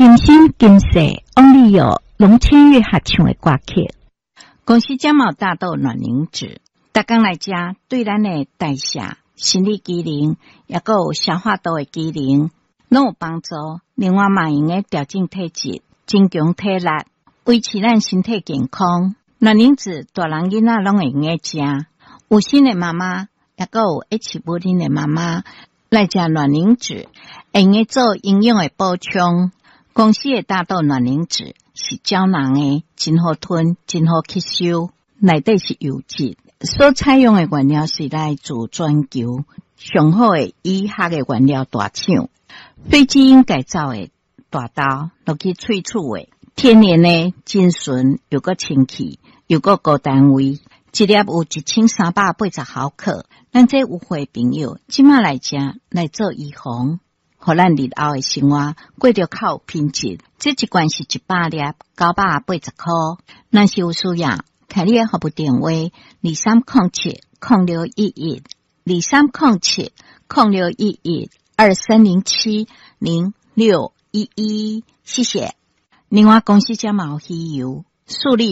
今生今世，翁立友、龍千月合唱的歌曲。公司這毛大豆卵磷脂，逐工來食，對咱的代謝、生理機能，抑閣有消化道的機能，攏有幫助。另外嘛，會用得調整體質，增強體力，維持咱身體健康。卵磷脂大人囡仔攏會用得食。有身的媽媽，抑閣有愛飼母奶的媽媽來食卵磷脂，會用得做營養的補充。公司的大豆卵磷脂是膠囊的，真好吞，真好吸收，內底是油脂。所採用的原料是來自全球上好的醫學的原料大廠，非基因改造的大豆落去萃取的，天然的真純，又閣清氣，又閣高單位，一粒有1380毫克。咱這有會朋友，這馬來食來做預防，予咱日後的生活過著較有品質。這一罐是100粒，980塊。若是有需要，開你的服務電話：23070611，23070611，23070611。謝謝。另外，公司這嘛有魚油，素力。